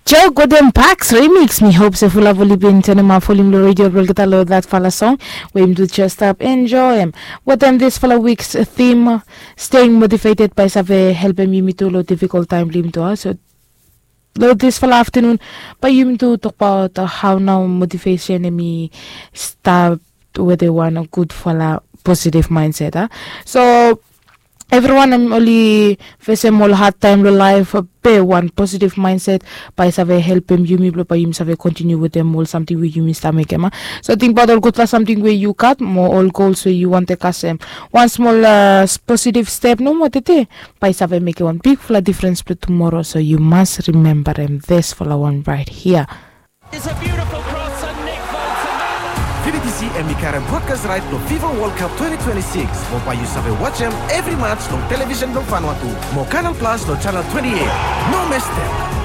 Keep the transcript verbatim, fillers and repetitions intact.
Joe Golden Parks remix. Mi hop se fulap oli bin tenemap volim long redio blong olgeta long datfala song we yumi tu jes stap enjoem wetem disfala wiks thim, staying motivated, bae i save helpem yumi tu long difikol taem blong yumi tu a. So long disfala aftenun bae yumi tu tokbaot hao nao motivesen hemi stap wetem wan gudfala positiv maenset a. So evriwan oli fesem ol hadtaem long laef, be wan positiv maenset bae i save helpem yumi blong bae yumi save kontiniu wetem ol samting we yumi stap mekem a. So tingbaot ol gudfala samting we yu gat mo ol gols we yu wantem kasem. Wan smol positiv step nomo tede bae i save mekem wan bigfala difrens blong tumoro. So yu mas rimembarem disfala wan raet hia. It's a beautiful cross and Nick Bolton. Vivi T C hemi karem brodkas raet blong Fifa World Cup twenty twenty-six mo bae yu save wajem evri mats long televisen blong Vanuatu mo Canal Plus long janel twenty-eight. No mestem.